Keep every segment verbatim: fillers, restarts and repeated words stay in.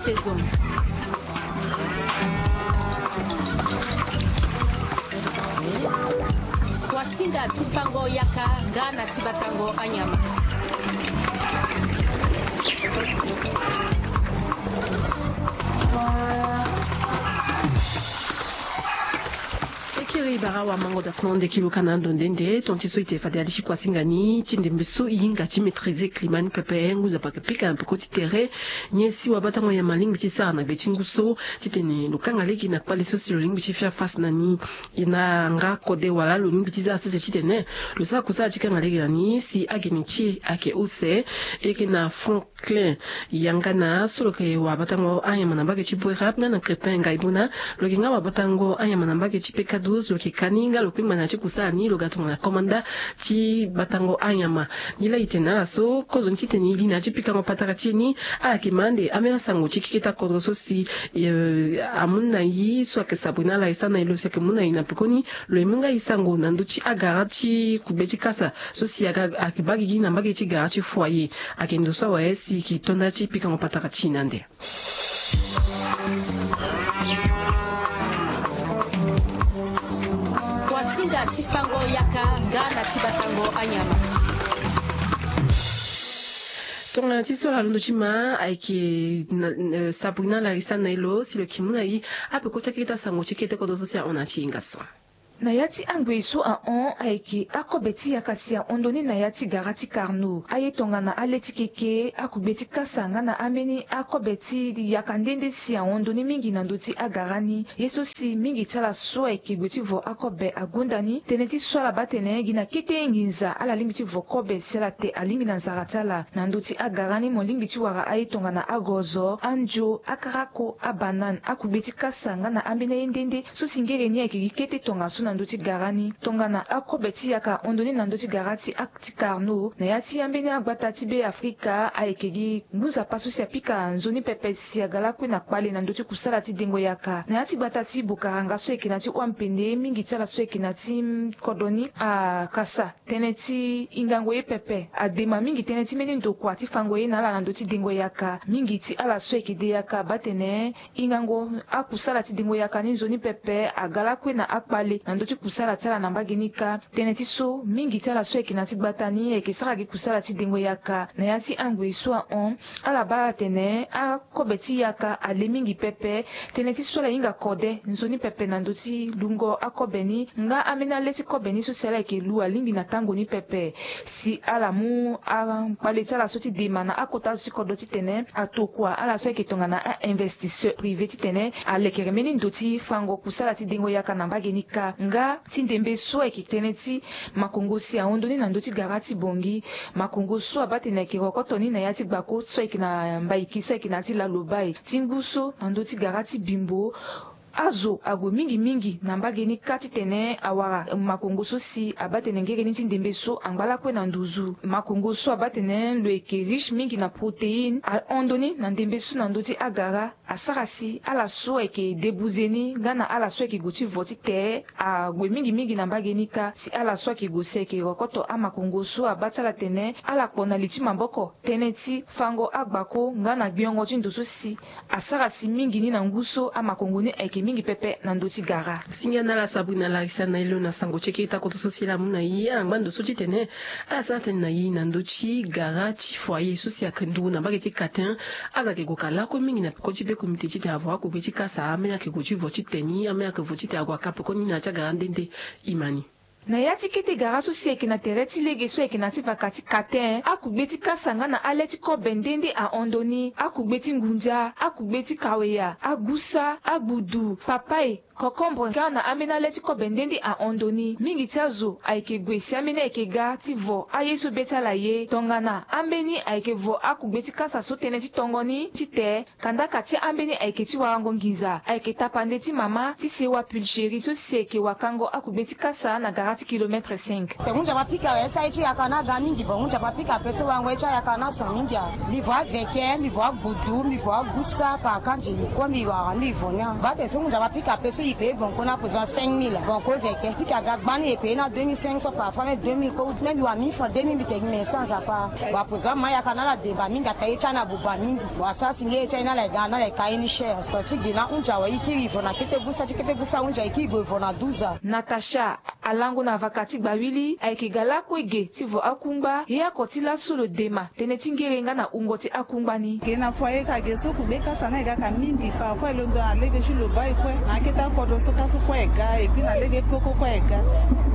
Saison. Kuasinga ti fango yaka nga na ti batango anyama. Ekiri bara wa mango da fana nde kilo kana ndo nde nde ton ti so ite fade aliki kuasinga ni ti ndembe so i hinga ti maîtriser climat ni pepe ngu zapa ke pika na peko ti tere. Nyen si wabatango ya malingbi ti sara na gbe ti ngu so titene lo kanga lege na kpale so si lo lingbi ti fia fasi na ni. E na nga kode wala lo lingbi ti za sese titene lo sara kusala ti kanga lege na ni si agene ti e ayeke use. E yeke na Franklin Yangana so lo yeke wabatango anyama na mbage ti Boerap nga na Crépin Ngaibuna. Lo yeke nga wabatango anyama na mbage ti P K douze, lo yeke ka ni nga lo kpengba na ya ti kusala ni lo ga tongana komanda ti batango anyama. Ni laa e tene na ala so kozoni titene e li na ya ti pikango patara ti e ni. Ala yeke ma ande ambeni asango ti keketa kodro so si, eh, amu na e so ayeke Sabrina Larissa na e lo si ayeke mu na e na pekoni. Lo ye mu nga e sango na ndö ti agara ti kugbe ti kasa so si aga ayeke baa gigi na mbage ti gara ti foyer. Ayeke ndo so awe si e yeke to nda ti pikango patara ti e na ande. Kuasinga ti fango yaka nga na ti batango anyama. Tongana ti so ala londo ti ma ayeke na, na, Sabrina Larissa na e lo si lo yeke mu na e apeko ti akeketa sango ti kete kodro so si ahon na ti e nga so. Na ya ti angoi so ahon ayeke akobe ti yaka si ahon ndoni na ya ti gara ti Carnot. Aye tongana ale ti keke, akugbe ti kasa nga na ambeni akobe ti yaka nde nde si ahon ndoni mingi na ndö ti agara ni. Ye so si mingi ti ala so ayeke gue ti vo akobe agonda ni. Tënë ti so ala baa atene gi na kete nginza ala lingbi ti vo kobe si ala te alingbi na nzara ti ala. Na ndö ti agara ni mo lingbi ti wara aye tongana agozo, andio, akarako, abanane, akugbe ti kasa nga na ambeni aye nde nde so si ngere ni ayeke gi kete tongaso na ndö ti gara ni. Tongana akobe ti yaka ahon ndoni na ndö ti gara ti a ti Carnot na ya ti ambeni agbata ti Be Afrika ayeke gi ngu nzapa so si apika nzoni pepe si aga lakue na kpale na ndö ti kusala ti dengo yaka. Na ya ti gbata ti Bokaranga so ayeke na ti Wampende, mingi ti ala so ayeke na ti kodro ni akasa tënë ti hingango ye pepe. Adema mingi tënë ti mbeni ndokua ti fango ye na ala na ndö ti dengo yaka. Mingi ti ala so ayeke de yaka abaa atene hingango akusala ti dengo yaka ni nzoni pepe aga lakue na akpale na ndö ti kusala ti ala na mbage ni kâ. Tënë ti so mingi ti ala so ayeke na ti gbata ni ayeke sara gi kusala ti dengo yaka. Na ya ti angoi so ahon, ala baa atene akobe ti yaka ale mingi pepe. Tënë ti so ala hinga kode nzoni pepe na ndö ti lungo akobe ni nga ambeni ale ti kobe ni so si ala yeke lu alingbi na tango ni pepe. Si ala mu akpale ti ala so ti dema na akota azo ti kodro titene atokua ala so ayeke tongana a-investisseur privé titene alekere mbeni ndo ti fango kusala ti dengo yaka na mbage ni kâ. Nga ti ndembe so ayeke tënë ti makongo si ahon ndoni na ndö ti gara ti Bongi. Makongo so abaa atene ayeke rokoto ni na ya ti gbako so ayeke na Mbaiki so ayeke na ya ti Lalobai. Ti ngu so na ndö ti gara ti Bimbo, azo ague mingi mingi na mbage ni kâ titene awara makongo so si abaa atene ngere ni ti ndembe so angba lakue na nduzu. Makongo so abaa atene lo yeke riche mingi na protéine ahon ndoni na ndembe so na ndö ti agara. Asara si ala so ayeke debuze ni nga na ala so ayeke gue ti vo ti te ague mingi mingi na mbage ni kâ. Si ala so ayeke gue si ayeke rokoto amakongo so abaa ti ala tene ala kpo na li ti maboko tënë ti fango agbako nga na gbengo ti ndo so si asara si mingi ni na ngu so amakongo ni ayeke mingi pepe na ndö ti gara. Singa na ala Sabrina Larissa na e lo na sango ti eke ta koto so si ala mu na e ala ngba ndo so titene ala sara tënë na e na ndö ti gara ti foyer so si ayeke nduru na mbage ti Katin. Aza yeke gue ka lakue mingi na peko ti be komite titene avo akugbe ti kasa ambeni ayeke gue ti vo ti te ni ambeni ayeke vo ti te ague aka pekoni na ya ti agara nde nde. E ma ni. Na ya ti kete gara so si ayeke na tere ti lege so ayeke na ti vaka ti Katin, akugbe ti kasa nga na ale ti kobe nde nde ahon ndo ni. Akugbe ti ngunza, akugbe ti kaweya, agusa, agbudu, papaye, kokombre nga na ambeni ale ti kobe nde nde ahon ndo ni. Mingi ti azo ayeke gue si ambeni ayeke ga ti vo aye so be ti ala ye. Tongana ambeni ayeke vo akugbe ti kasa so tënë ti tongo ni ti te. Kandaka ti ambeni ayeke ti warango nginza ayeke tapande ti mama ti sewa pulcherie so si ayeke wakango akugbe ti kasa na gara ti kilomètre cinq. Te ngu nzapa pika awe sa ye ti yaka na aga mingi vo ngu nzapa pika ape so warango ye ti ayaka na so mingi awe. Mbi vo aveke, mbi vo agbudu, mbi vo agusa, kaka nzeni kue mbi wara mbi vo ni awe. Baa te so ngu nzapa pika ape so. E paye banco na présent cinq mille, banco veke pika ga gbani e paye na deux mille cinq cents, parfois même deux mille ko même wa mille francs deux mille mbi tegi mais sans apa. Wa présent ma yaka na ala deba mingi ata ye ti ana buba mingi. Wa sara si nge ye ti aye na ala e ga na ala e ka ye ni cher. Ton ti gi na hunzi awe e kiri vo na kete busa ti kete busa hunzi aye e kiri gue vo na duza. Natacha alango na vaka ti gbawili ayeke ga lakue ge ti vo akungba ye ako ti laso lo dema tënë ti ngere nga na wungo ti akungba ni. Ge na foyer ka ge so kugbe kasa na e ga ka mingi parfois e londo na lege ti lo bai kue na akete akodro so ka so kue e ga epui na lege poko kue e ga.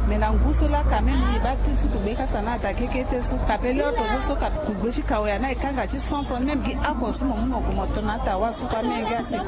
Mais na ngu so laka même e baa kiri so kugbe kasa na ataa kekete so ka pe lio to so so ka kugbe ti kawe ana e kanga ti cent francs même gi ako so mo mu mo gue mo to na ataa wa so kue amenge ate.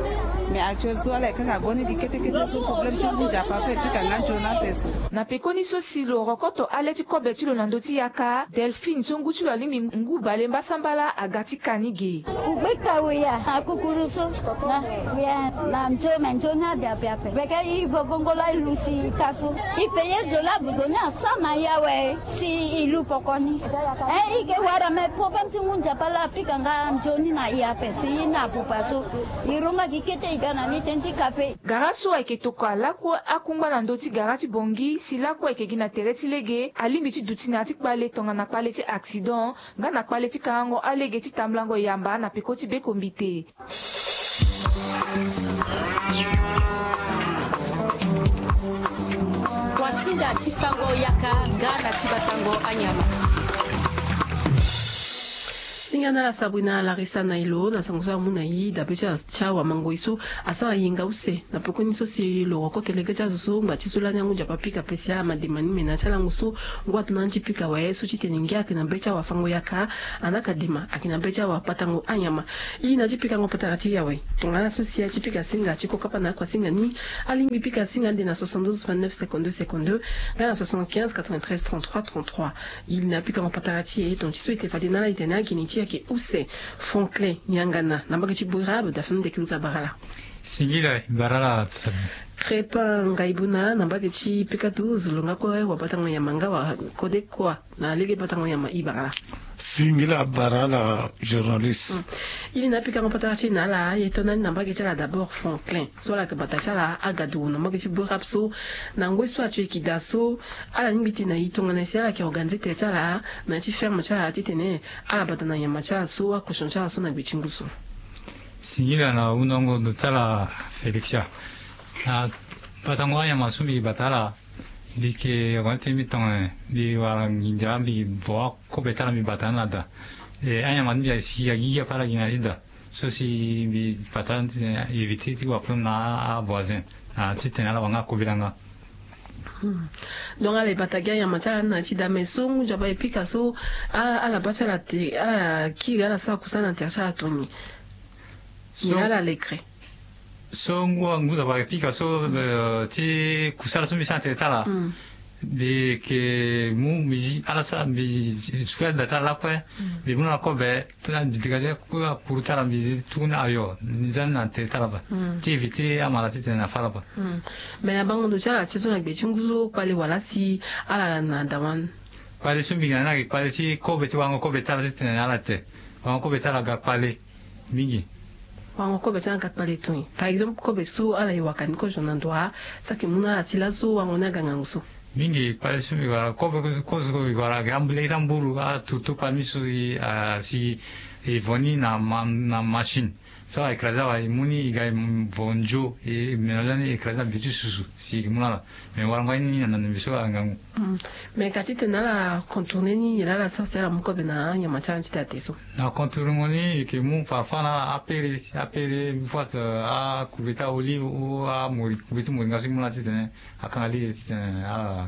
Mais actuel so ala e kanga go ni gi kete kete so problème ti ngu nzapa so e pika nga nzoni ape so. Na pekoni so si lo rokoto ale ti kobe ti lo na ndö ti yaka delphine so ngu ti lo alingbi ngu bale mbasambala aga ti ka ni ge. Kugbe kawe ya na kukuru so na ya na nzo me nzoni ade ape ape veke e vo bongolo e lusi e ka so e paye zo la budo ni asa na ya awe. Si e lu poko ni e e ke wara me problème ti ngu nzapa la apika nga nzoni na e ape si e na apupa so e ronga gi kete e ga na ni tënë ti kape. Gara so ayeke tokua lakue akungba na ndö ti gara ti bongi si lakue ayeke gi na tere ti lege alingbi ti duti na ya ti kpale tongana kpale ti accident nga na kpale ti kangango alege ti tambulango yamba na peko ti bekombite. Wasinga ti fango yaka nga na ti batango anyama. Singa na ala sabri na larisa na e lo na sango so amu na e dabe ti ala ti awamangoi so asara yenga use na pekoni so si lo rokoto lege ti azo so ngba ti so lani angu nzapa pika pe si ala ma dema ni me na ya ti alango so ngu ato na ni ti pika awe so titene ngia ayeke na be ti awafango yaka. Ana ka dema ayeke na be ti awapatango anyama. I na ti pikango patara ti e awe tongana so si a ti pika singa ti kokapa na akuasinga ni. Alingbi pika singa ande na soixante-douze vingt-neuf cinquante-deux cinquante-deux nga na soixante-quinze quatre-vingt-treize trente-trois trente-trois. I na pikango patara ti e tonga ti so e te fade na ala e tene agene ti e ayeke use. Franklin niangana na mbage ti boirabe dafin nde kiluka barala. Singila barala. Crépin ngaibuna na mbage ti pika douze lo nga kue wabatango nyama nga wa kode kua na lege batango nyama i barala. Singila barala journaliste. Ili na pikango patara ti e na ala aye to na ni na mbage ti ala d'abord franklin so ala yeke bata ti ala agadu na mbage ti boirabe so na ngoi so ato e yeke daa so ala lingbi ti na e tongana si ala yeke organize tere ti ala na ya ti ferme ti ala titene ala bata na nyama ti ala so akosion ti ala so na gbe ti ngu so. Singila na hundango ndo ti ala. Félixia na batango anyama so mbi bata ala. Mbi yeke wani tene mbi tonga mbi wara nginza mbi vo akobe ti ala mbi bata ni na da. E anyama ti mbi asi agigi ape ala gi na ti da so si mbi bata éviter ti wa problème na avoisin na titene ala wanga akobe langa. Donc ala e bata gi anyama ti ala ni na ti da mais so ngu nzapa e pika so ala baa ti ala te ala kiri ala sara kusa na tere ti ala toni. Mais ala lekre. So ngu ngu nzapa e pika so ti kusala so mbi sara na tere ti ala. Mbi yeke mu mbi zi ala sara mbi suku ya da ti ala lakue. Mbi mu na ala kobe ti na mbi dégage akuru ti ala mbi zi tukuni ayo mbi za ni na tere ti ala ba ti éviter amala titene na fa ala ba. Mais na bango ndo ti ala ti so na gbe ti ngu so kpale wala si ala na da wani. Kpale so mbi ga na ni ayeke kpale ti kobe ti wango kobe ti ala titene na ala te. Wango kobe ti ala ga kpale mingi. Wango kobe ti ala ga kpale toni par exemple kobe so ala ye waka ni kozo na ndo wa. Saki mu na ala ti laso wango ni aga ngangu so. Mingi kpale so mbi wara kobe kozo mbi wara ga lege ti amburu atutu kpale mingi so si e vo ni na machine. So a écrasé awa e mu ni e ga e vo nzo e mélange ni e écrasé na bi ti susu si e ke mu na ala. Mais warango aye ni na ndandu mbi so ala ngangu. Mais ka ti tene ala contourner ni nyen laa ala sara si ala mu kobe na anyama ti ala ni ti daa te so. Na contournement ni e ke mu parfois na ala apere apere une fois akuveti aolive ou amori kuveti moringa so e mu na ala titene akanga lege titene ala.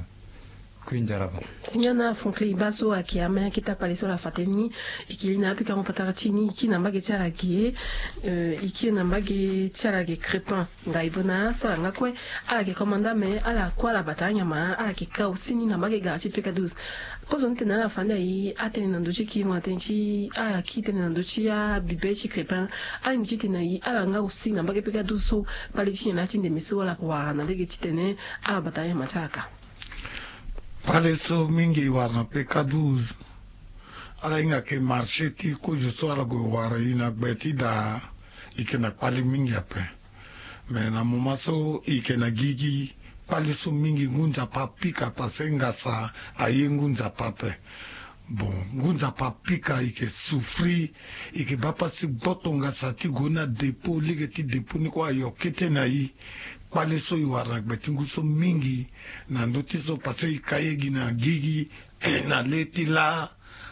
Kui nzara ba. Signana Franklin Iba so ayeke amen akete akpale so ala fa tënë ni. E ke li na apikango patara ti e ni e kiri na mbage ti ala ge. E kiri na mbage ti ala ge crépin. Ngai bona so ala nga kue ala yeke komanda me ala kue ala bata anyama ala yeke ka aussi ni na mbage gara ti peka douze. Kozoni tene ala fa nde aye atene na ndö ti kiringo na tënë ti ala kiri tënë na ndö ti abibe ti crépin. Alingbi ti tene na e ala nga aussi na mbage peka douze so kpale ti nyen laa ti ndeme so ala yeke wara na lege titene ala bata anyama ti ala ka. Kpale so mingi e wara na peka douze. Ala hinga yeke marché ti kozo so ala gue wara e na gbe ti daa. E yeke na kpale mingi ape. Mais na moment so i yeke na gigi, kpale so mingi ngu nzapa apika parce que ngasa aye ngu nzapa ape. Bon, ngu nzapa apika, i yeke souffrir, i yeke baa pasi gboto ngasa ti gue na dépôt, lege ti dépôt ni kue ayo kete na i. Kpale so i wara na gbe ti ngu so mingi na ndö ti so parce que i ka ye gi na gigi na le ti laa.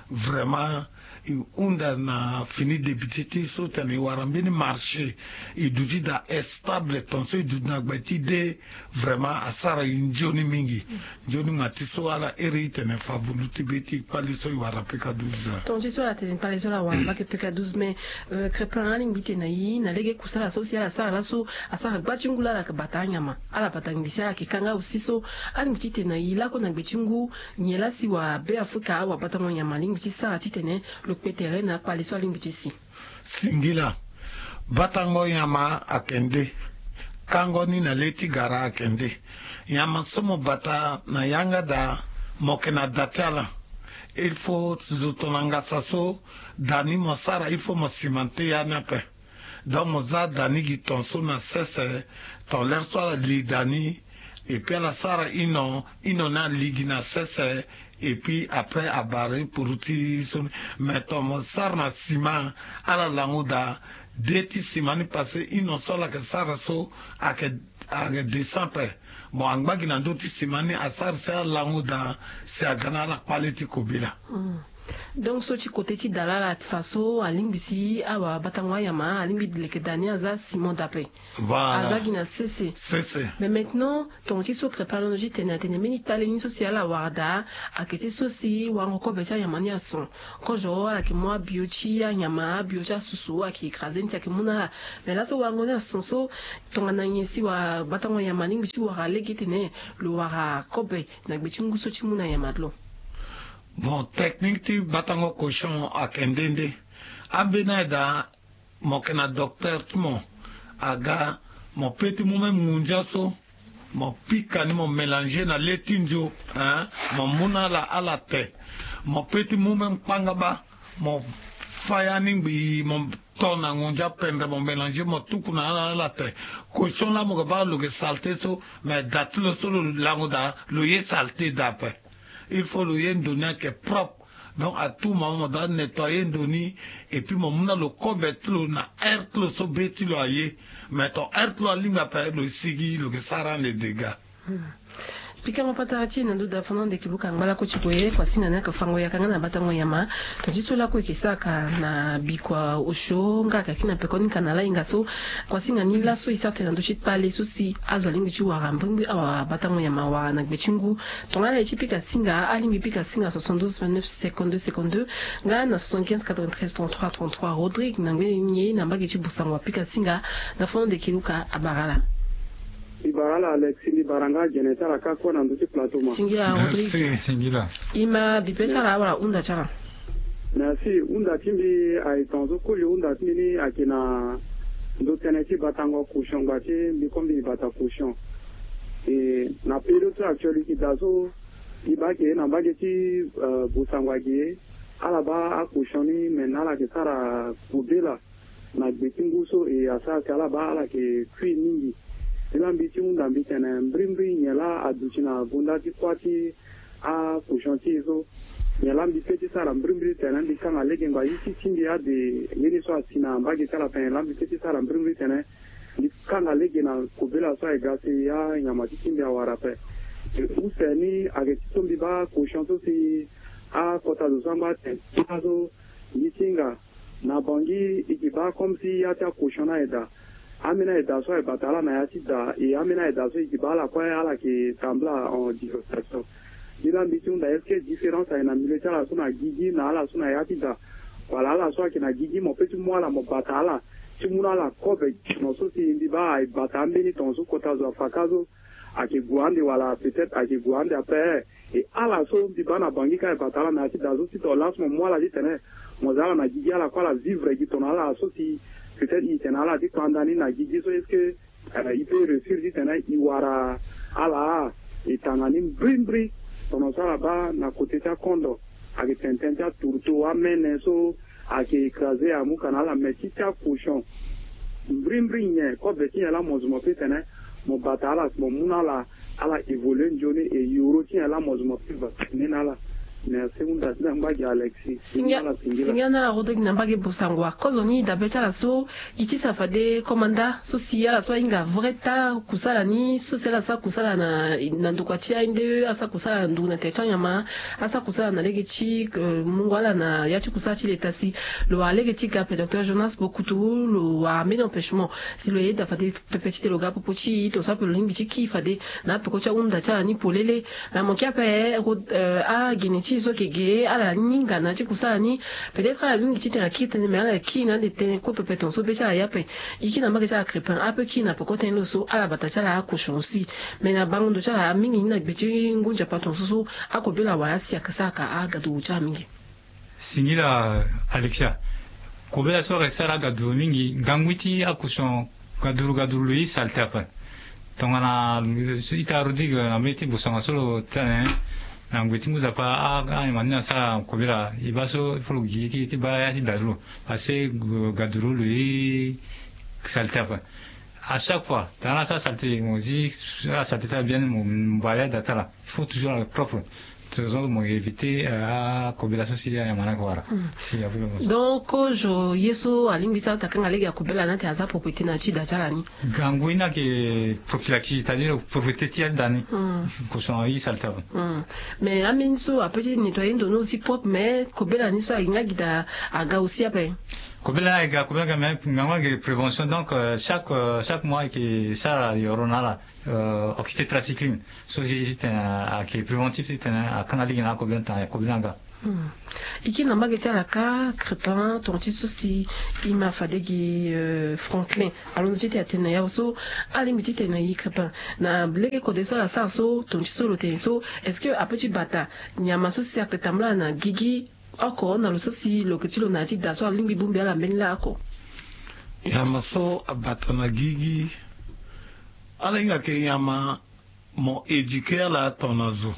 Vraiment, i hunda na fini député ti so tene i wara mbeni marché, i duti daa stable, ton so i duti na gbe ti de. Vraiment asara i nzoni mingi. Nzoni ma ti so ala iri i tene favulu ti be ti kpale so i wara pika douze. Ton ti so ala tene kpale so ala wara mbage pika douze, mais euh, Crépin, alingbi ti tene na i na lege kusala so si ala sara laso, asara gba ti ngu laa ala yeke bata anyama, ala bata ngbi si ala yeke kanga aussi so. Alingbi ti tene na i lako na gbe ti ngu, nyen laa si wa Beafrika, wa batango nyama alingbi ti sara ti tene lo kpe tere na akpale so alingbi ti si? Singila. Batango nyama ayeke nde. Kango ni na le ti gara ayeke nde. Nyama so mo bata na yanga daa, mo yeke na da ti ala. Il faut zo tongana ngasa so, da ni mo sara, il faut mo simante ya ni ape. Donc mo za da ni gi ton so na sese, ton lere so ala li da ni, et puis ala sara ino, ino ni ali gi na sese, et puis après abare puru ti so ni. Mais ton mo sara na sima, ala lango daa de ti sima ni parce que ino so ala yeke sara so ayeke, ayeke descend ape. Bon, angba gi na ndö ti sima ni asara si ala lango daa si aga na ala kpale ti kobela. Donc so ti kote ti da laa ala fa so alingbi si awa batango anyama alingbi leke da ni aza sima dape. Voilà. Aza gi na sese. Sese. Mais maintenant, tongo ti so Crépin alondo ti tene atene mbeni kpale ni so si ala wara daa, ayeke ti so si warango kobe ti anyama ni ason. Kozo ala yeke mu abio ti anyama, abio ti asusu ayeke écrasé ni si ayeke mu na ala. Mais laso warango ni ason so, tongana nyen si wa batango nyama alingbi ti wara lege ti tene lo wara kobe na gbe ti ngu so ti mu na nyama ti lo? Bon, technique ti batango cochon ayeke nde nde. Ambeni aye daa, mo yeke na docteur ti mo, aga, mo pe ti mu même ngunza so, mo pika ni, mo mélanger na le ti nzo, hein, mo mu na ala, ala te. Mo pe ti mu même kpangaba, mo fa ya ni ngbii, mo to na ngunza pendre, mo mélanger, mo tuku na ala, ala te. Cochon laa mo yeke baa lo yeke saleté so, mais da ti lo so lo lango daa, lo ye saleté daa ape. Il faut lo ye ndo ni ayeke propre. Donc à tout moment mo doit nettoyer ndo ni, et puis mo mu na lo kobe ti lo na heure ti lo so be ti lo aye. Mais ton heure ti lo alingbi ape, lo sigi, lo yeke sara ande dégâts. Pikango patara ti e na ndö da fana ande ki buka ngba lako ti gue, kuasinga ni ayeke fango yaka nga na batango nyama. Ton ti so lako e yeke sara ka na bikua osio nga ayeke kiri na peko ni ka na ala hinga so. Kuasinga ni laso e sara tene na ndö ti kpale so si azo alingbi ti wara mbrimbri awa batango nyama awara na gbe ti ngu. Tongana ala ye ti pika singa, alingbi pika singa soixante-douze vingt-neuf cinquante-deux cinquante-deux, nga na soixante-quinze quatre-vingt-treize trente-trois trente-trois. Rodrigue na ngbene ni ye na mbage ti Busango apika singa, na fana ande ki luka abara ala. Mbi bara ala Alexis, mbi bara nga gene ti ala kâ kue na ndö ti plateau ma. Singila Rodrigue. Merci. Singila. E ma bipe ti ala wala hunda ti ala? Merci. Hunda ti mbi aye tongaso koli, hunda ti mbi ni ayeke na ndö tënë ti batango cochon, ngba ti mbi kue mbi bata cochon. E na période so actuel e yeke daa so, e baa ake na mbage ti, euh, Busango agi, ala baa acochon ni, me na ala yeke sara kobela na gbe ti ngu so, e asara si ala baa ala yeke kui mingi. Ni laa mbi ti hunda mbi tene mbrimbri nyen laa aduti na gonda ti kuâ ti acochon ti e so. Nyen laa mbi pe ti sara mbrimbri tene mbi kanga lege ngba ye ti ti mbi ade ye ni so asi na mbage ti ala ape, nyen laa mbi pe ti sara mbrimbri tene mbi kanga lege na kobela so aye ga si anyama ti ti mbi awara ape. E use ni ayeke ti so mbi baa cochon so si akota zo so angba atene ti ala so, ye ti hinga na Bangui, e yeke baa comme si ya ti acochon ni aye daa. Ambeni aye daa so aye bata ala na ya ti da, e ambeni aye daa so e yeke baa ala kue ala yeke tambula en divorce. Ni laa mbi ti hunda, est-ce que différence aye na milieu ti ala so na gigi na ala so na ya ti da? Wala ala so ayeke na gigi mo pe ti mu ala mo bata ala ti mu na ala kobe, no so si mbi baa aye bata ambeni tongaso kota zo afa kâ so ayeke gue ande wala peut-être ayeke gue ande ape. E ala so mbi baa na Bangui ka e bata ala na ya ti da so, si ton laso mo mu ala ti tene mo za ala na gigi, ala kue ala vivre gi ton na ala so si peut-être e tene ala ti kpanda ni na gigi so, est-ce que, euh, e peut réussir ti tene e wara ala? E tanga ni mbrimbri. Ton na so ala baa na côté ti akondo ayeke tene tënë ti atourteau, amene so ayeke écrasé amu ka na ala, mais ti ti acochon Mbrimbri nyen kobe ti nyen laa mo zo mo pe tene mo bata ala si mo mu na ala, ala évoluer nzoni, e yoro ti nyen laa mo zo mo pe vacciner na ala? Merci hunda ti na ngba gi Alexis. Singia na ala, singia na ala. Rodrigue na mbage bosango akozo ni dabe ti ala so. I ti sa fade komanda so si ala so ahinga vrai ta kusala ni so si ala sa kusala na, na ndokua ti A N D E, asa kusala na nduru na tere ti anyama, asa kusala na lege ti, euh, mungo ala na ya ti kusala ti leta si lo wara lege ti ga ape. Docteur Jonas Bokutu lo wara mbeni empêchement si lo yeda fade pepe ti tene lo ga popo ti i, tongaso ape lo lingbi ti kiri fade na apeko ti ahunda ti ala ni polele. Na mo kia ape, euh, agene ti e so ayeke ge ala ni hinga na ya ti kusala ni. Peut-être ala lingbi ti tene akiri tënë, mais ala kiri na ande tënë kue pepe tongaso be ti ala ye ape. E kiri na mbage ti ala Crépin ape, kiri na peko tënë lo so ala bata ti ala akochon aussi. Mais na bango ndo ti ala mingi ni na gbe ti ngu nzapa tongaso so akobela wala asi ayeke sara ka agaduru ti ala mingi. Singila Alexia. Kobela so ayeke sara agaduru mingi, ngangui ti akochon gaduru gaduru lo ye saleté ape. Tongana ita Rodrigue na mbeni ti bosanga so lo tene na ngoi ti ngu nzapa, a, anyama ni asara kobela, e baa so il faut lo gi ti, ti baa ya ti da ti lo. Parce que gaduru lo ye saleté ape. À chaque fois tongana asara saleté, mo zi asara saleté ti ala bien, mo bale ada ti ala. Il faut toujours ala propre. Raison mo éviter, euh, akobela so si anyama ni ayeke wara. Donc kozo ye so alingbi ti ala ta kanga lege akobela ni ate aza propriété na ya ti da ti ala ni. Gangu ni ayeke prophylaxie, c'est-à-dire propriété ti ya ti da ni. Kozo na ye saleté ape. Mais ambeni so ape ti nettoyer ndo ni aussi propre, mais kobela ni so ayeke nga gi da aga aussi ape. Kobela ni ayeke ga, kobela ni ayeke ga, mais ngangu ayeke prévention. Donc, euh, chaque, euh, chaque mois ayeke sara yoro na ala, euh, oxytétracycline. So si ti tene ayeke préventif ti tene akanga lege na akobela ni tongana akobela ni aga. Hmm. E kiri na mbage ti ala kâ Crépin, tonga ti so si e ma fade gi, euh, Franklin alondo ti tene atene na ya so alingbi ti tene na e Crépin, na lege kode so ala sara so, tonga ti so lo tene so, est-ce que ape ti bata nyama so si ayeke tambula na gigi oko na lo so si lo yeke ti lo na ya ti da so alingbi bongbi ala mbeni laa oko? Nyama so abata na gigi, ala hinga yeke nyama mo éduquer ala tongana zo.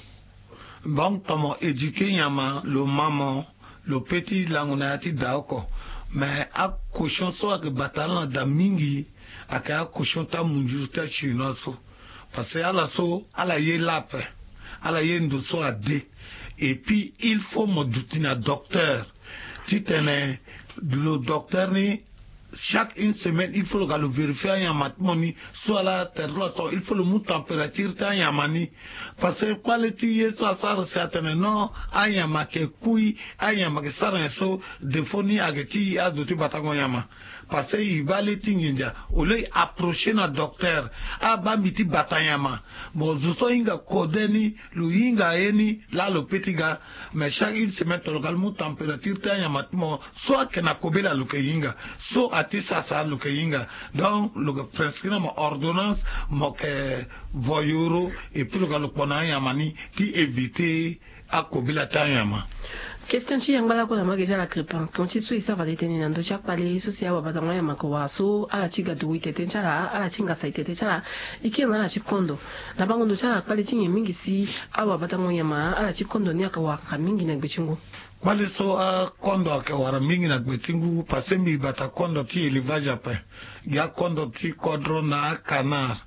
Donc tongana mo éduquer nyama, lo ma mo, lo pe ti lango na ya ti da oko. Mais acochon so ayeke bata ala na da mingi ayeke acochon ti amunzuru ti achinois so. Parce que ala so ala ye laa ape, ala ye ndo so ade. Et puis il faut mo duti na docteur ti tene lo docteur ni, chaque une semaine il faut lo ga lo vérifier anyama ti mo ni. So ala tere ti lo aso, il faut lo mu température ti anyama ni. Parce que kpale ti ye so asara si atene non, anyama ayeke kui, anyama ayeke sara nyen so, défaut ni ayeke ti azo ti batango nyama. Parce que e baa le ti nginza, au lieu e approcher na docteur, abaa mbi ti bata nyama. Bon, zo so hinga kode ni, lo hinga ye ni laa lo pe ti ga. Mais chaque une semaine tongana lo ga lo mu température ti anyama ti mo, so ayeke na kobela lo yeke hinga, so ati sasa lo yeke hinga. Donc lo yeke prescrire na mo ordonnance, mo yeke vo yoro, et puis lo ga lo kpo na anyama ni ti éviter akobela ti anyama. Question ti yangba lakue na mbage ti ala Crépin, tonga ti so e sara fade tene na ndö ti akpale so si awabatango anyama ayeke wara so ala ti ga duru itete ti ala, ala ti ngasa itete ti ala, e kiri na ala ti kondo. Na bango ndo ti ala kpale ti nyen mingi si awabatango nyama ala ti kondo ni ayeke wara mingi na gbe ti ngu? Kpale so akondo ayeke wara mingi na gbe ti ngu, parce que mbi bata kondo ti élevage ape. Gi akondo ti kodro na acanard.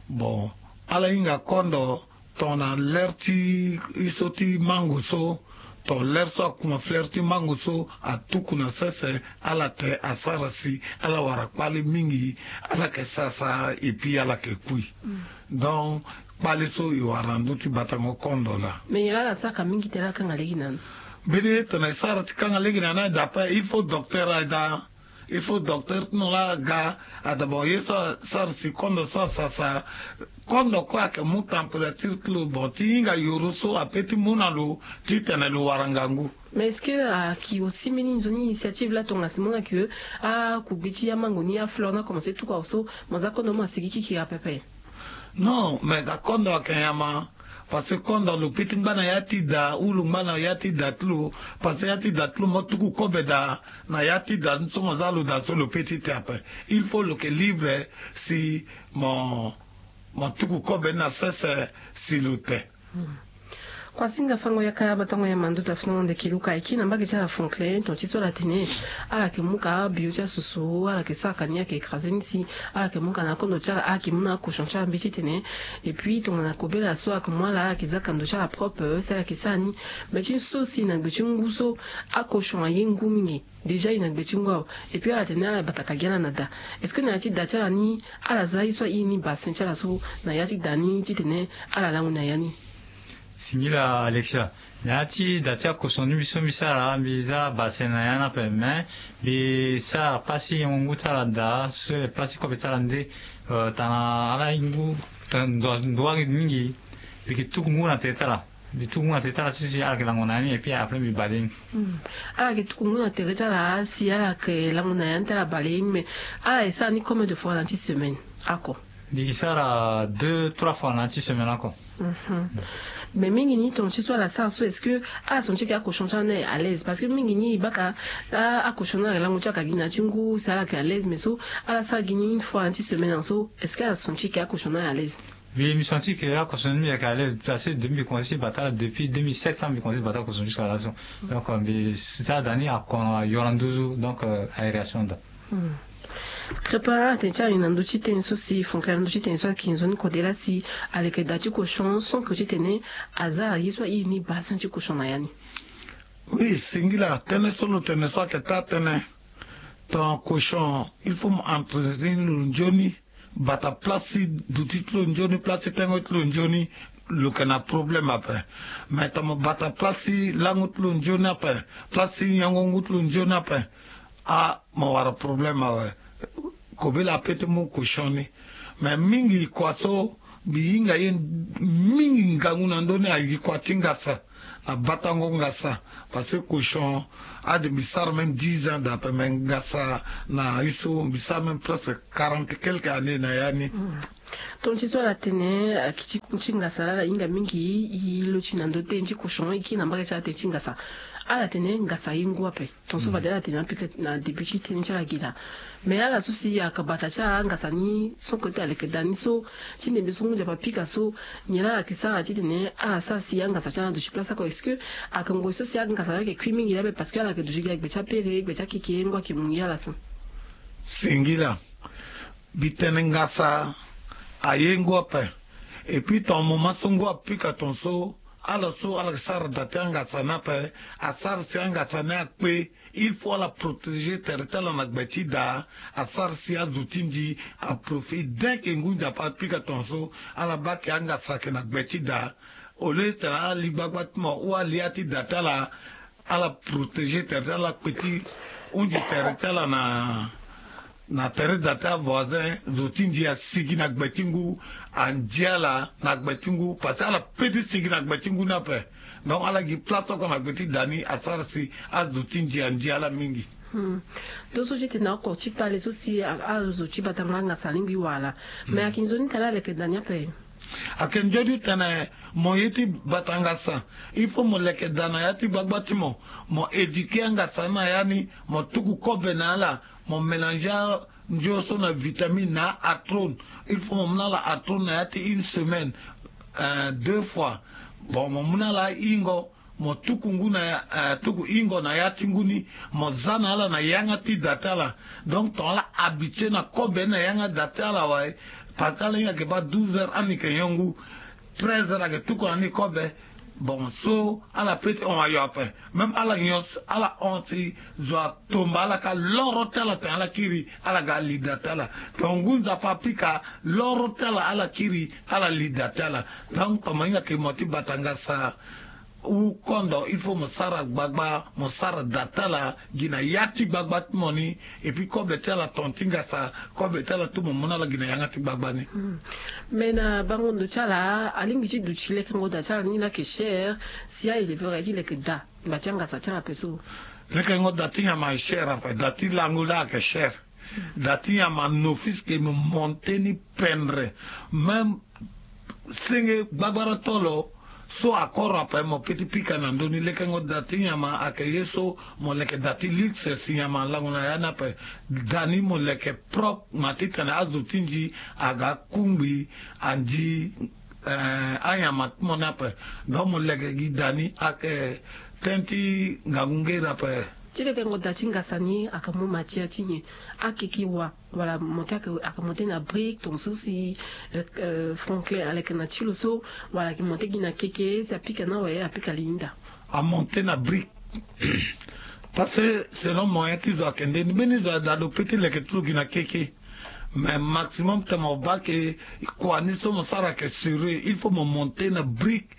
Bon, ala hinga kondo tongana lere ti ye so ti mango so, tongana lere so akuma fleur ti mango so atuku na sese, ala te asara si ala wara kpale mingi, ala yeke sasa et puis ala yeke kui. Donc kpale so e wara na ndö ti batango kondo laa. Mais nyen laa ala sara ka mingi tene ala kanga lege na ni? Mbeni ye tongana e sara ti kanga lege na ni, d'après il faut docteur aye daa. Il faut docteur ti no laa aga, adabord ye so asara si kondo so asasa. Kondo kue ayeke mu température ti lo, bon, ti hinga yoro so ape ti mu na lo ti tene lo wara ngangu. Mais est-ce que ayeke aussi mbeni nzoni initiative laa tongana si mo hunda que akugbe ti amango ni, afleur ni akomense tuku awe so, mo za kondo mo asigi kikiri ape ape? Non, mais ga kondo ayeke nyama. Parce que kondo lo pe ti ngba na ya ti da, ou lo ngba na ya ti da ti lo. Parce que ya ti da ti lo mo tuku kobe daa na ya ti da ni so mo za lo daa so lo pe ti te ape. Il faut lo yeke libre si mo, mo tuku kobe ni na sese si lo te. Hmm. Kuasinga fango yaka batango ya mando ta fina wande kiluka eki na mbage ti ala Franklin ton ti so ala tene ala yeke mu ka bio ti asusu ala yeke sara ka ni ayeke écrasé ni si ala yeke mu ka na kondo ti ala ala yeke mu na akochon ti ala mbi titene. Et puis tongana kobela so ala yeke mu ala ala yeke za ka ndo ti ala propre si ala yeke sara ni. Mais ti so si na gbe ti ngu so akochon aye ngu mingi. Déjà e na gbe ti ngu awe. Et puis ala tene ala bata ka gi ala na da. Est-ce que na ya ti da ti ala ni ala za ye so aye ni bassin ti ala so na ya ti da ni titene ala lango na ya ni? Singila Alexia. Na ya ti da ti akochon ni mbi so mbi sara mbi za bassin na ya ni ape mais mbi sara place ti yengo ngu ti ala daa so place ti kobe ti ala nde. Tana ala ye ngu ndo wari mingi. Mbi yeke tuku ngu na tere ti ala. Mbi tuku ngu na tere ti ala so si ala yeke lango na ya ni et puis après mbi bale ni. Ala yeke tuku ngu na tere ti ala si ala yeke lango na ya ni ti ala bale ye ni mais ala ye sara ni combien de fois na ti semaine? Ako. Mbi yeke sara deux trois fois na ti semaine ako. Mais mingi ni ton ti so ala sara so est-ce que ala son ti yeke akochon ti ala ni aye à l'aise parce que mingi ni e baka akochon ni ala yeke lango ti ala ka gi na ya ti ngu si ala yeke à l'aise mais so ala sara gi ni une fois na ti semaine so est-ce que ala son ti yeke akochon ni aye à l'aise? Mbi mbi senti que akochon ni mbi yeke à l'aise parce que mbi commencé ti bata depuis deux mille sept ans mbi commencé ti bata akochon jusqu'à la so. Donc mbi za da ni akono ayora nduzu donc aération da. Crépin atene ti ala na ndö ti tënë so si fonke na ndö ti tënë so ayeke nzoni kode laa si aleke da ti kochon sans que titene aza aye so aye ni bassin ti kochon na ya ni. Oui, singila tënë so lo tene so ayeke taa tënë. Ton kochon il faut mo entretenir lo nzoni. Bata place ti duti ti lo nzoni place ti tengo ti lo nzoni. Lo yeke na problème ape. Mais tongana mo bata place ti lango ti lo nzoni ape, place ti nyango ngu ti lo nzoni ape, a mo wara problème awe. Kobela ape ti mu kochon ni. Mais mingi kua so mbi hinga ye mingi ngangu na ndö ni ayeke kua ti ngasa. Na batango ngasa. Parce que kochon ade mbi sara même dix ans d'après mais ngasa na ye so mbi sara même presque quarante quelques années na ya ni. Ton ti so ala tene akiti ti ngasa laa ala hinga mingi. E lo ti na ndö tënë ti kochon e kiri na mbage ti ala tënë ti ngasa. Ala tene ngasa aye ngu ape. Ton so fade ala tene apika na début ti tënë ti ala gi laa. Mais ala so si ayaka bata ti ala angasa ni so kote aleke da ni so ti ndembe so ngu nzapa apika so nyen laa ala yeke sara titene ala sara si angasa ti ala aduti place oko? Est-ce que ayeke ngoi so si angasa ni ayeke kui mingi laa ape parce que ala yeke duti gi na gbe ti apere gbe ti akeke ngu ayeke mu gi ala so? Singila. Mbi tene ngasa aye ngu ape. Et puis ton moment so ngu apika ton so ala so ala sara da ti angasa ni ape. Asara si angasa ni akpe. Il faut ala protéger tere ti ala na gbe ti da. Asara si azo ti ndi aprofite dès que ngu nzapa apika ton so ala baa ke angasa ayeke na gbe ti da. Au lieu tene ala li gbagba ti mo ou ala li ya ti da ti ala. Ala protéger tere ti ala kpe ti hunzi tere ti ala na na tere da ti avoisin zo ti ndi asigi na gbe ti ngu. Anzi ala na gbe ti ngu parce que ala pe ti sigi na gbe ti ngu ni ape. Donc ala gi place oko na gbe ti da ni asara si azo ti ndi anzi ala mingi. Ndo so ti tene oko ti kpale so si azo ti bata ngbanga sa alingbi wala. Mais ayeke nzoni tene aleke da ni ape. Ayeke nzoni tene mo ye ti bata ngasa il faut mo leke da na ya ti gbagba ti mo. Mo éduquer angasa ni na ya ni. Mo tuku kobe na ala. Mo mélanger anzio so na vitamine na atrone. Il faut mo mu na ala atrone na ya ti une semaine deux fois. Bon mo mu na ala ahingo. Mo tuku ngu na tuku hingo na ya ti ngu ni. Mo za na ala na yanga ti da ti ala. Donc ton ala habitué na kobe na yanga da ti ala wai. Parce que ala hinga yeke baa douze heures ani yeke nyon ngu. Treize heures ayeke tuku na ni kobe. Bon so ala pe ti hon ayo ape. Même ala nyon ala hon si zo atomba ala ka loro ti ala tene ala kiri. Ala ga ali da ti ala. Ton ngu nzapa apika loro ti ala ala kiri. Ala li da ti ala. Donc ton mo hinga yeke mo ti bata ngasa. Ou kondo il faut mo sara gbagba mo sara da ti ala. Gi na ya ti gbagba ti mo ni. Et puis kobe ti ala ton ti ngasa kobe ti ala tout mo mu na ala gi na yanga ti gbagba ni. Mais na bango ndo ti ala alingbi ti duti lekengo da ti ala ni laa ayeke cher. Si a-éleveur aye ti leke da ngba ti angasa ti ala ape so. Lekengo da ti nyama aye cher ape da ti lango laa ayeke cher. Da ti nyama nofis ke mo monte ni pendre. Même senge gbagbara tolo so akoro ape mo pe ti pika na ndö ni lekengo da ti nyama ayeke ye so. Mo leke da ti luxe si nyama alango na ya ni ape. Da ni mo leke propre ma titene azo ti nzi aga akungbi. Anzi Anyama ti mo ni ape. Donc mo leke gi da ni ayeke tënë ti ngangu nge iri ape. Ti lekengo da ti ngasa ni ayeke mu matia ti nyen? Akeke wa wala monte ayeke monte na brique tongaso si Franklin aleke na ti lo so, wala ayeke monte gi na keke si apika na awe apika li ni da? Amonte na brique. Parce que selon moyen ti zo ayeke nde ni mbeni zo ada lo pe ti leke ti lo gi na keke. Mais maximum tene mo baa ke kua ni so mo sara ayeke sure, il faut mo monte na brique,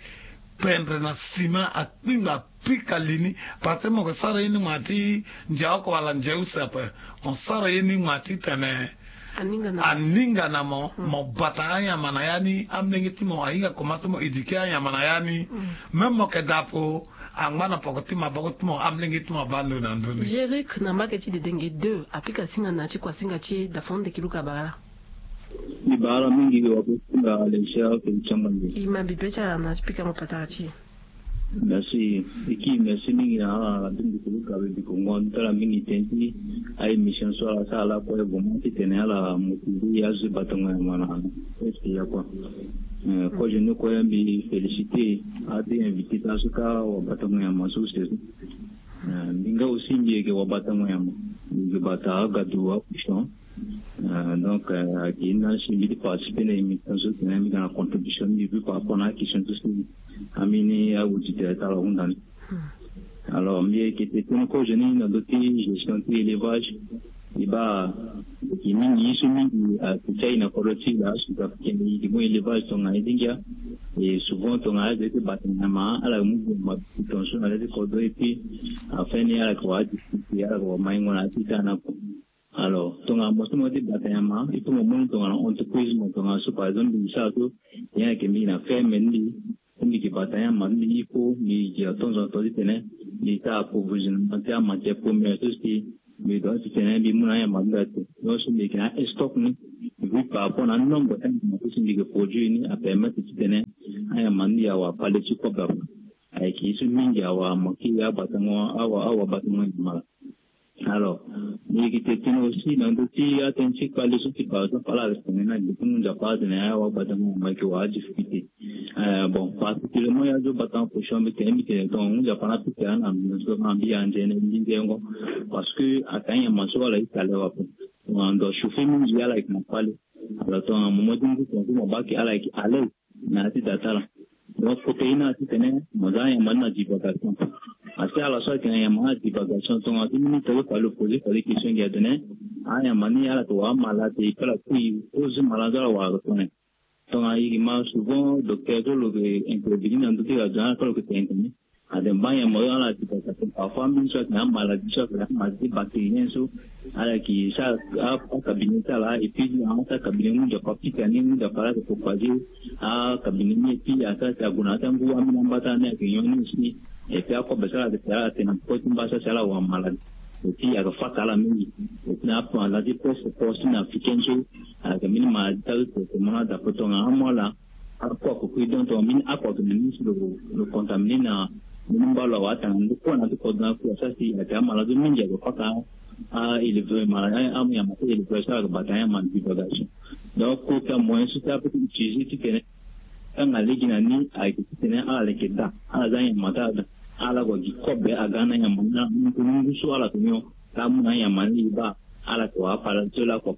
pendre na ciment, akpingba apika li ni. Parce que mo yeke sara ye ni ngba ti ndia oko wala ndia use ape. Mo sara ye ni ngba titene aninga na mo, mo bata anyama na ya ni. Amolenge ti mo ahinga komanse mo éduquer anyama na ya ni. Même mo yeke da ape, angba na poko ti maboko ti mo, amolenge ti mo abaa ndo na ndoni. Gérer na mbage ti dedenge deux apika singa na ti kuasinga ti e da fo ndeki luka bagala. Ni bagala mingi wa kuasinga. Alexia ke ti amande. I ma bibe ti ala na ti pika mo patara ti e. Merci. Eki merci mingi na ala na bini bikolo gabe bikongo ndo ti ala mingi tënë ti a émission so ala sara lakue vraiment titene ala motiver azo ti batango nyama na est ya kue. Kozo ni kue mbi féliciter ade invité ti ala so ka wa batango nyama so use so. Mbi nga aussi mbi yeke wa batango nyama. Mbi yeke bata agadu akushan. Donc ayeke ni na si mbi ti participer na émission so tene mbi ga na contribution mbi vu par rapport na akestion so si ambeni auditeur ti ala ahunda ni. Alors mbi yeke tene tënë kozo ni na ndö ti gestion ti élevage. E baa e yeke mingi ye so mingi ayeke ti aye na kodro ti e laa sud africain e yeke mu élevage tongana ye ti ngia. Et souvent tongana azo ti bata nyama ala yeke mu boma tongaso na le ti kodro et puis afin ni ala yeke wara difficulté ala yeke wara maingo na ya ti daa na ko. Alors tongana mo so mo ti bata nyama il faut mo mu ni tongana entreprise mo tongana so par exemple mbi sara so nyen ayeke mbi na ferme ni mbi so mbi yeke bata anyama ti mbi il faut mbi yeke atonzo na to titene mbi sara approvisionnement ti amatière première so si mbi doit titene mbi mu na anyama ti mbi ato. Donc so mbi yeke na astock ni vu par rapport na anombre ti anyama so si mbi yeke produire ni apermettre titene anyama ti mbi awara pale ti kobe ape. Ayeke ye so mingi awara manke abatango awa awa batango nyama laa. Alors mbi yeke tene tënë aussi na ndö ti atënë ti kpale so si par exemple ala yeke tene na gbe ti ngu nzapa atene awa abatango nyama ayeke wara adifficulté. Bon particulièrement ya so batango cochon mbi tene mbi tene tongana ngu nzapa na pika na mbi na so na mbi anze na mbi nzengo. Parce que ayeke anyama so ala ye kale ape. Tongana ndo achauffer mingi ala yeke na kpale. Alors tongana moment ti ngu tongaso mo baa ke ala yeke à l'aise na ya ti da ti ala. Donc protéine ala titene mo za anyama ni na divagation. Asi ala so ayeke na nyama ni na divagation tongana ti minute ti fade lo poser fade question gi atene anyama ni ala yeke wara amalade et puis ala kui ozo malade so ala wara tongana. Tongana e ma souvent docteur so lo yeke intervenir na ndö ti radio ni ala so lo yeke tene tene. Ade mba nyama oyo ala yeke bata tene parfois mingi so ayeke na amaladi so ayeke na amaladi ti bactérien so ala yeke sara akabine ti ala et puis na asara kabine ngu nzapa pika ni ngu nzapa ala yeke propager akabine ni et puis asara si ague na ya ti angu ambeni ambata ni ayeke nyon ni aussi. Et puis akobe so ala yeke tene ala tene na poko ti mba so si ala wara maladi. Et puis ayeke faka ala mingi. Et puis na amaladi presque poko ti na africaine so ayeke mbeni maladi ti azo tene tene mo na dapo tongana amu ala. Akua kukui donc tongana mbeni akua ayeke na ni si lo lo contaminer na mbeni mba lo awe atanga ndo kue na ti kodro na kue asara si ayeke amaladi mingi ayeke faka a éleveur maladi anyama ti éleveur so ala yeke bata anyama na divagation. Donc kota moyen so ti ape ti utiliser titene tanga lege na ni ayeke titene ala leke da ala za anyama ti ala da. Ala gue gi kobe aga na anyama ni ala mu ngu so ala yeke nyon. Ka amu na anyama ni e baa ala yeke wara apalade so lakue.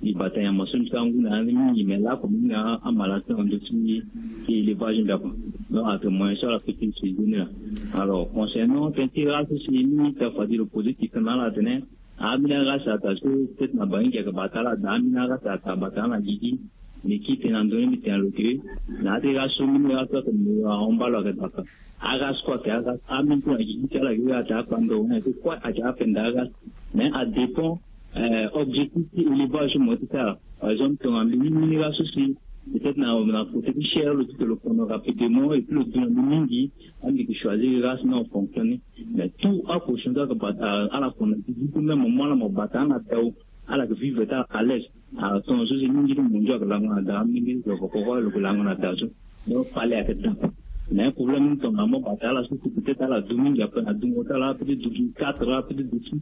E bata nyama so mbi sara ngu na ya ni mingi me lakue mingi na amalade so na ndö ti élevage mbi akue. Donc ayeke moyen so ala peut ti utiliser ni laa. Alors concernant tënë ti race so si mingi ti afadi lo poser question na ala atene ambeni arace ataa so peut-être na bangi gi ayeke bata ala daa ambeni arace ataa bata ala na gigi. Mbi kiri tene na ndö ni mbi tene na lo ke na ya ti race so mbeni race so ayeke mo ahon mba lo ayeke daa ape. Arace kue ayeke arace ambeni kue na gigi ti ala ayeke ataa akpando wani ayeke kue ayeke apenda arace. Mais adépend objectif ti élevage so mo ye ti sara. Par exemple tongana mbi ni mbeni race so si peut-être na na côté ti chair lo ti tene lo kono rapidement et puis lo du na mbi mingi. Ande mbi yeke choisir race ni en fonction ni. Mais tout akochon so ayeke bata ala kono ti du tout même mo mu ala mo bata ala na dao. Ala yeke vivre ti ala à l'aise. Tongaso si mingi ti mondio ayeke lango na da mingi ti zo koko lo yeke lango na da so. Donc pale ayeke da. Mais problème ni tongana mo bata ala so si peut-être ala du mingi ape na dungo ti ala peut-être du quatre, ala peut-être du six.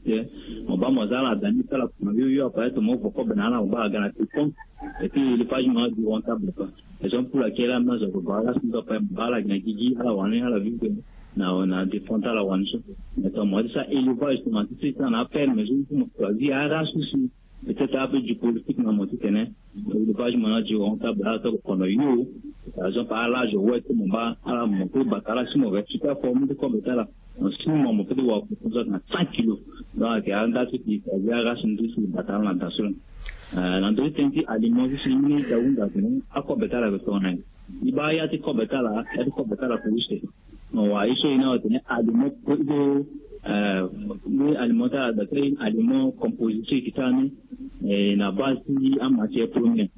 Mo baa mo za ala da ni ti ala kuma yo yo ape ti mo vo kobe na ala mo baa aga na ti compte. Et puis élevage mo na du rentable ape. Raison pour laquelle ala na zo baba ala si ndo ape mo baa ala gi na gigi ala wani ala vivre na na défend ala wani so. Mais tongana mo ti sa élevage tongana ti si sa na aferme so mo choisir ara so si peut-être ape du politique na mo titene élevage mo na du rentable ala to kono yo. Par exemple ala zo wet mo baa ala mo pe bata ala si mo respecte aforme ti kobe ti ala. En ce moment mo peut ti wara kokonso na cent kilos. Donc ayeke anda so ti choisir arace ndu so ti bata ala na da so la. Na ndö ti tënë ti aliment so si ni da hunda atene akobe ti ala yeke tongana nyen? E baa ya ti kobe ti ala ya ti kobe ti ala yeke use. Mo wara ye so e na atene aliment ni aliment ti ala da ti aliment composé so e yeke ti ala ni na base ti amatière première.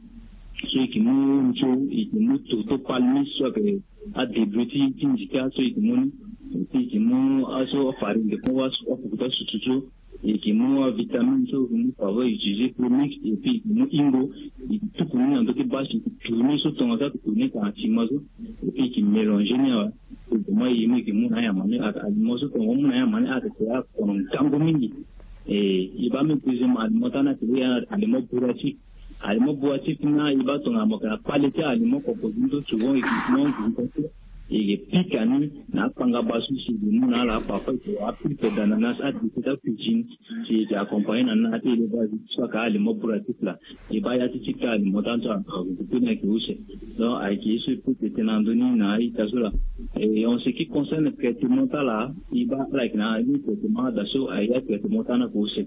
So e yeke mu nzo e yeke mu toto palmis so ayeke adébut ti ti nzika so e yeke mu ni. E yeke mu aso afarine de po afuku ti asusu so. E yeke mu avitamine so e yeke mu parfois e yeke utiliser premix. Et puis e yeke mu ingo e yeke tuku ni na ndö ti base e yeke tourner so tongaso ake tourner tanga ciment so. Et puis e yeke mélanger ni awe. Vraiment e yeke mu na anyama ni ake aliment so tongaso mu na anyama ni ake ake akono ngangu mingi. E e baa même deuxième aliment ti ala ni ake lege aliment bourratif. Aliment bourratif ni e baa tongana mo yeke na kpale ti aliment composé ni so souvent e yeke mo ngu. E yeke pika ni na akpanga baa so si e yeke mu na ala parfois e yeke wara pulpe d'ananas adéchet ti acuisine. Si e yeke accompagner na ni na ya ti élevage so aka aliment bourratif laa. E baa ya ti ti kâ aliment ti ala so avutu pe ni ayeke use. Donc ayeke ye so e peut tene na ndö ni na a-ita so laa. Et en ce qui concerne traitement ti ala e baa ala yeke na ni traitement ada so aye atraitement ti ala ni ake use.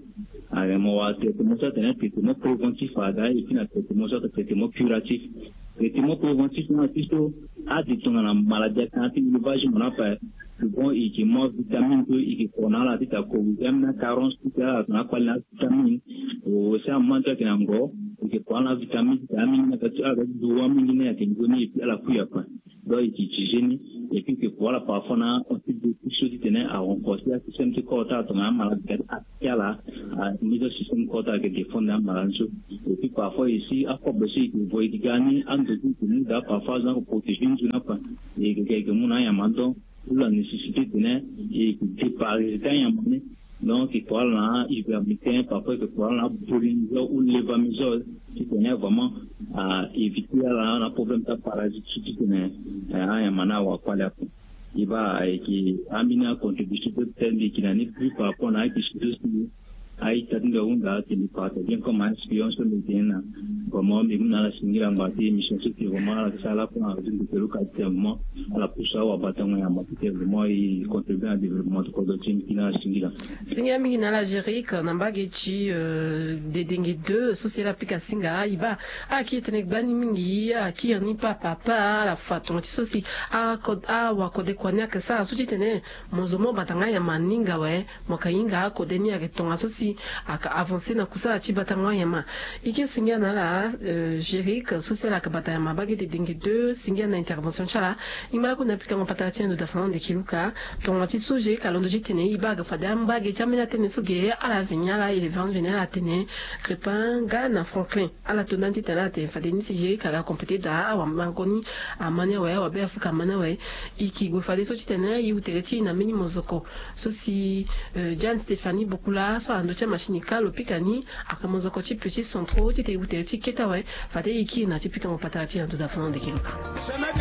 Mo wara traitement so atene traitement préventif ada et puis na traitement so atene traitement curatif. Traitement préventif ni ala ti so ade tongana maladie atene ti élevage mo na ape. Souvent e yeke mu avitamine so e yeke ko na ala ti ta corriger ambeni acarence ti ala tongana akpale na avitamine. Aussi aman ti ayeke na ngo e yeke ko ala na avitamine ti ta amini na ka ti ala ka ti du wa mingi ni ayeke nzoni et puis ala kui ape. Donc e yeke utiliser ni. Et puis e yeke ko ala parfois na antibiotique so titene arenforcer asystème ti corps ti ala tongana amala ti ala. Amizon système corps ti ala ayeke défendre amala ni so. Et puis parfois aussi akobe so e yeke vo e yeke ga ni ando so e yeke mu daa parfois azo ni ako protéger nzoni ape. E yeke ga e yeke mu na anyama ni donc. Ou la nécessité tene e yeke déparasiter anyama ni. Donc e ko ala na ivermectin parfois e yeke ko ala na bolinizole ou levamisole. Titene vraiment a éviter ala na problème ti aparasite so titene anyama ni awara kpale ape. E baa ayeke ambeni acontribution so peut-être mbi yeke na ni plus par rapport na ayeke sujet so si a-ita ti mbi ahunda ayeke mbi partage bien comme a-expérience so mbi yeke ni na. Vraiment mbi mu na ala singila ngba ti émission so si vraiment ala yeke sara lakue na radio mbi yeke luka ti tene vraiment ala pusu awabatango nyama ti tene vraiment e contribuer na développement ti kodro ti mbi ti na ala singila. Singila mingi na ala Géric na mbage ti dedenge deux so si ala pika singa e baa ala kiri tënë gbani mingi ala kiri ni papa papa ala fa tonga ti so si awakode kua ni ayeke sara so ti tene mo zo mo bata nga nyama ni nga awe. Mo yeke hinga akode ni ayeke tongaso si ayeke avancer na kusala ti batango anyama. E ke singila na ala Géric so si ala yeke bata nyama mbage dedenge deux singila na intervention ti ala. Ngba lakue na pikango patara ti ando da fana ande ki luka. Tonga ti so Géric alondo ti tene e baa ayeke fade ambage ti ambeni atënë so ge ala veni ala élevance veni ala tene Crépin nga na Franklin. Ala to ndani titene ala tene fade ni si Géric aga compléter daa awamango ni ama ni awe awabe afrika ama ni awe. E yeke gue fadeso titene e wu tere ti e na mbeni mozoko so si Jeanne Stéphanie Bokula so ala ndo ti amachine ka lo pika ni. Ayeke mozoko ti petit centraux titene e wu tere ti e kete awe. Fade e kiri na ti pikango patara ti e na ndo da fana ande ki luka.